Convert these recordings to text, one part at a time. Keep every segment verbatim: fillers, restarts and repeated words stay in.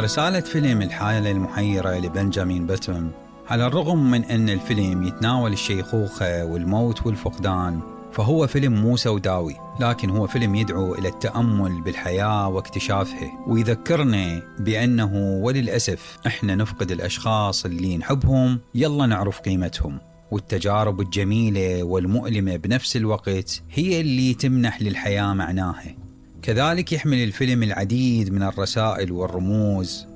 رسالة فيلم الحالة المحيرة لبنجامين باتون، على الرغم من أن الفيلم يتناول الشيخوخة والموت والفقدان، فهو فيلم مو سوداوي، لكن هو فيلم يدعو إلى التأمل بالحياة واكتشافها، ويذكرنا بأنه وللأسف إحنا نفقد الأشخاص اللي نحبهم يلا نعرف قيمتهم، والتجارب الجميلة والمؤلمة بنفس الوقت هي اللي تمنح للحياة معناها. كذلك يحمل الفيلم العديد من الرسائل والرموز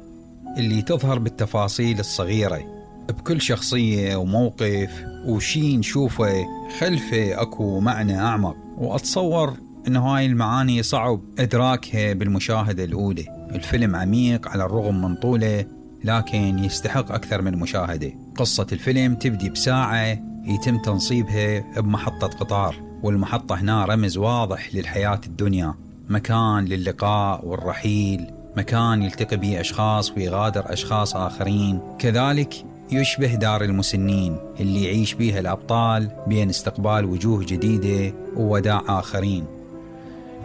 اللي تظهر بالتفاصيل الصغيرة، بكل شخصية وموقف وشي نشوفه خلفه أكو معنى أعمق، وأتصور أن هاي المعاني صعب إدراكها بالمشاهدة الأولى. الفيلم عميق على الرغم من طوله، لكن يستحق أكثر من مشاهدة. قصة الفيلم تبدي بساعة يتم تنصيبها بمحطة قطار، والمحطة هنا رمز واضح للحياة الدنيا، مكان للقاء والرحيل، مكان يلتقي به أشخاص ويغادر أشخاص آخرين. كذلك يشبه دار المسنين اللي يعيش بيها الأبطال بين استقبال وجوه جديدة ووداع آخرين.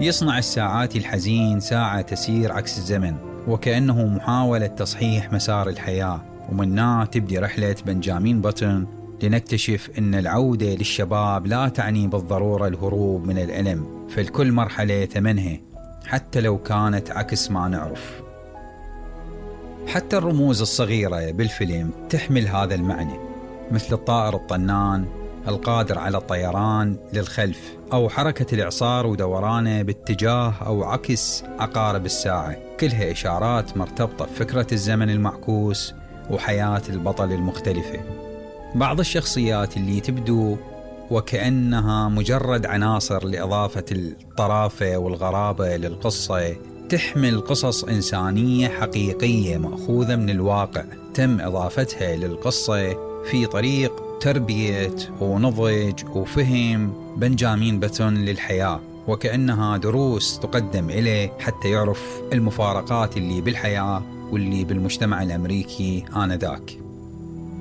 يصنع الساعات الحزين ساعة تسير عكس الزمن، وكأنه محاولة تصحيح مسار الحياة. ومنها تبدي رحلة بنجامين باتون لنكتشف أن العودة للشباب لا تعني بالضرورة الهروب من الألم، فالكل مرحلة ثمنها حتى لو كانت عكس ما نعرف. حتى الرموز الصغيرة بالفيلم تحمل هذا المعنى، مثل الطائر الطنان القادر على الطيران للخلف، أو حركة الإعصار ودورانه باتجاه أو عكس عقارب الساعة، كلها إشارات مرتبطة بفكرة الزمن المعكوس وحياة البطل المختلفة. بعض الشخصيات اللي تبدو وكأنها مجرد عناصر لإضافة الطرافة والغرابة للقصة، تحمل قصص إنسانية حقيقية مأخوذة من الواقع، تم إضافتها للقصة في طريق تربية ونضج وفهم بنجامين باتون للحياة، وكأنها دروس تقدم إليه حتى يعرف المفارقات اللي بالحياة واللي بالمجتمع الأمريكي آنذاك.